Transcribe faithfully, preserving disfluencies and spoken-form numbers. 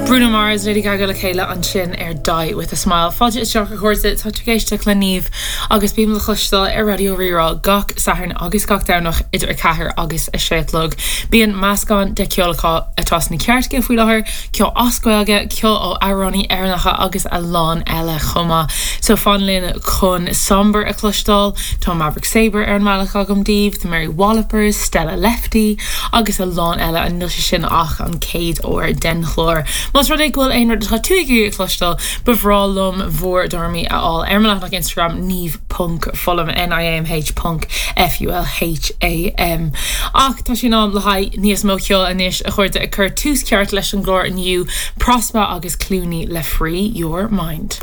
Bruno Mars Lady Gaga le chéile ansin ar Die with a Smile. Fáilte isteach a chairde tá ag éisteacht le Niamh agus bím le cloisteáil ar Raidió Rí-Rá gach Satharn agus gach Domhnach idir a ceathair agus a sé a chlog. Bíonn meascán de cheol atá sna cairteacha faoi láthair, ceol as Gaeilge, ceol ó amhránaithe Éireannacha agus a lán eile chomh maith. So fan linn chun Somber a chloisteáil, Tá Maverick Sabre ar an mbealach agam daoibh, The Mary Wallopers, Stella Lefty agus a lán eile an níl sé sin ach an chéad uair den chlár. Más rud é go bhfuil aon rud atá tú ag cloisteáil ba bhreá liom bhur dtuairimí a fháil ar mo leathanach Instagram Niamh ponc Fulham NIAMH ponc FULHAM. Ach tá sé in am le haghaidh níos mó ceoil anois a chairde ag cur tús ceart leis an gclár inniu Prospa agus Clooney le Free Your Mind.